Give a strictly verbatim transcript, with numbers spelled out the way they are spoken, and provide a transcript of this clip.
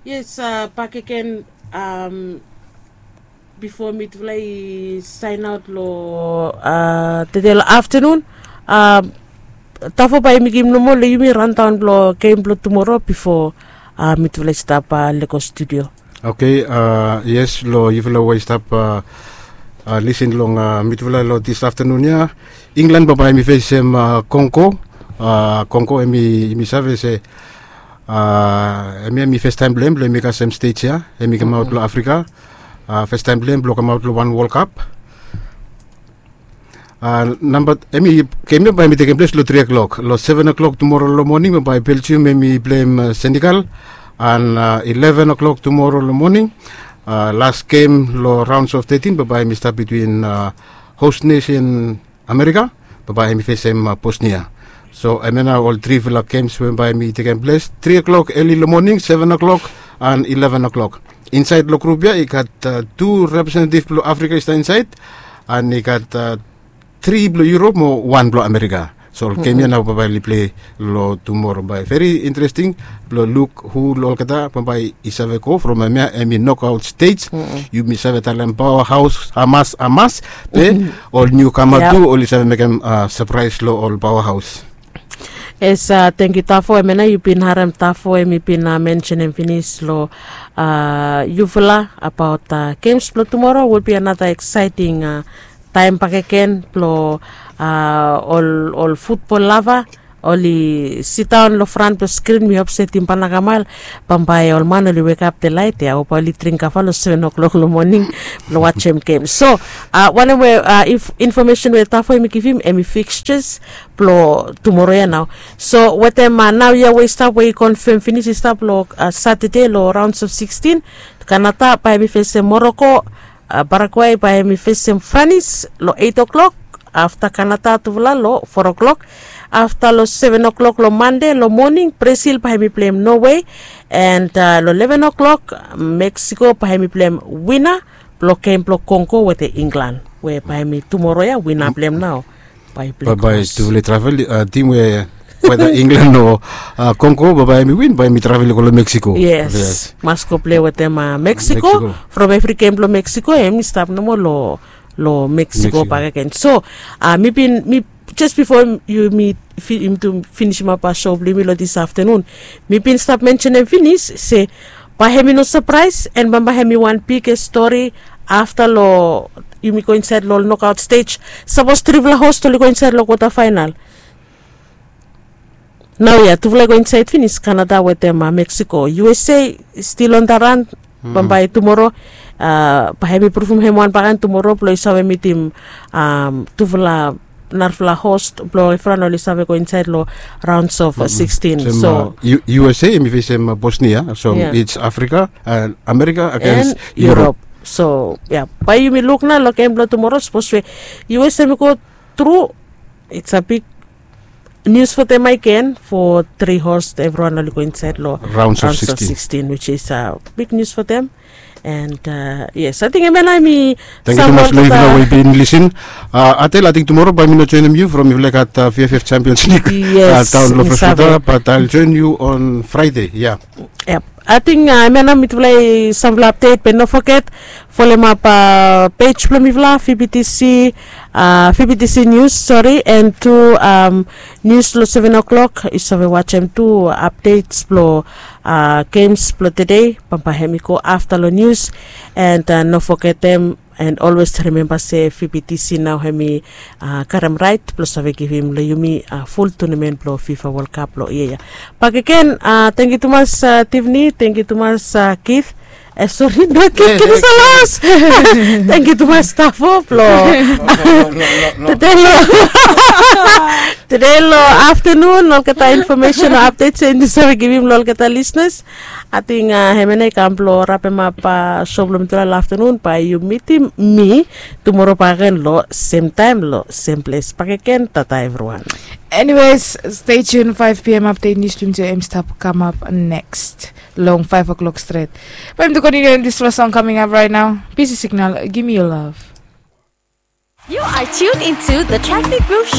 Yes, bakegen, bifo mitufala i sain aot long tede long aftanun, tafo bae i mekem nomo long yumi randaon blong gem blong tumoro bifo mitufala i stap lego studio. Oke. Yes, long yufala we i stap lisin long mitufala long dis aftanun ya, Inglan bambae hem i fesem Kongo. Kongo hem i save se hemia hem i festaem blong hem blong hem i kasem stej ya, hem i kamaot long Afrika. Festaem blong hem blong kamaot long wan Wol Kap. Namba, hem i, gem ya bae hem i tekem ples long tri o'klok. Long seven o'klok tumoro long moning bambae Belgium hem i pleim Senegal. An ileven o'klok tumoro long moning, las gem long raons of tetin bambae hem i stap bitwin hos nesen Amerika, bambae hem i fesem Bosnia. So hemia nao ol trifala gems we bambae hem i tekem ples, tri o'klok eli long moning, seven o'klok an ileven o'klok. Insaed long grup ya i gat tu representetiv blong Afrika i stap insaed, an i gat tri blong Yurop mo wan blong Amerika. So ol gem ya nao bambae oli plei long tumoro, bae veri interesting blong luk hu long olgeta bambae i save go from hemia, hem i nokaot stej. Yumi save talem paoa haos, hamas, hamas. Be ol niukama tu oli save mekem sapraes long ol paoa haos. Yes, tangkiu Tafo. Hemia nao yu bin harem Tafo hem i bin mensenem finis long yufala abaot gems blong tumoro. Will be another exciting taem bakegen blong ol futbol lava. Oli sidaon long fran blong skrin, mi hop se Timba na kamael, bambae ol man oli wekap de laet ya, o bae oli dring kava long seven o'klok long moning blong wajem gem. So wanem we infomesen we Tafo hem i givim hem i fikstures blong tumoro ya nao. So wetem naoia we i stap we i konfem finis i stap long Satade long raons of sikstin, Kanada bae hem i fesem Moroko. Paraguay bae hem i fesem Franis long eit o'klok. Afta Kanada tufala long fo o'klok. Afta long seven o'klok long Mande long moning Brazil bae hem i pleim Norway. And long leven o'klok Meksiko bae hem i pleim wina blong gem blong Kongo wetem Inglan, we bae hem i tumoro ya wina blong hem nao bae i pleim. Bae tufala i travel, tim we weda Inglan o Kongo, bae hem i win bae hem i travel i go long Meksiko. Yes, mas go plei wetem Meksiko. From evri gem blong Meksiko hem i stap nomo long Meksiko bakegen. So mi bin, mi jes bifo yumi tu finisimap sou blong yumi long dis aftanun, mi bin stap mensenem finis se bae hem i no sapraes, and bambae hem i wan bigest stori afta long yumi go insaed long ol nokaot stej. Sapos trifala host oli go insaed long kwota faenal. Naoia tufala i go insaed finis, Kanada wetem Meksiko. U S A stil on da ran. Bambae tumoro bae hem i pruvum hem wan bakegen tumoro blong i save mitim tufala narafala host blong evriwan oli save go insaed long raons of sikstin. So U S A hem i fesem Bosnia, so its Afrika, Amerika agens Yurop. So ya, bae yumi luk nao long gem blong tumoro, sapos we U S A hem i go tru, its a big nius fo dem agen, fo tri host evriwan oli go insaed long raons of sikstin, which is a big nius fo dem. And yes, ating hemia nao hem i. Tangkiu tumas long yufala we i bin lisin. Atel, ating tumoro bae mi no joenem yu from yufala i gat V F F Champions League daon long Freswater, bat I'll join you on Friday. Ya. Ating hemia nao mitufala i samfala apdet, be no foget folemap pej blong mifala, V B T C, V B T C News, sori, and tu nius long seven o'clock yu save wajem tu apdets blong gems blong tede. Bambae hem i go afta long nius. And no fogetem and olwes rimemba se V B T C nao hem i karem raet blong save givim long yumi ful tunamen blong FIFA World Cup long yia ya. Bakegen, tangkiu tumas Tiffany, tangkiu tumas Keith. E sori, no Keith, Keith is a loss. Tangkiu tumas Tafo blong tede long tede long aftanun olgeta infomesen o apdets we yumi save givim long olgeta lisnas. Ating hemia nao i kam blong rapemap sou blong mitufala long aftanun. Bae yu mitim mi tumoro bakegen long semtaem long sem ples bakegen. Tata evriwan. Anyways, stay tuned, five p.m. update news blong yumi tu hem i stap kamap neks long five o'clock stret. Bae yumi tu kontiniu, and dispela song coming up right now, Busy Signal, Give Me Your Love. You are tuned into the Traffic Guru Show.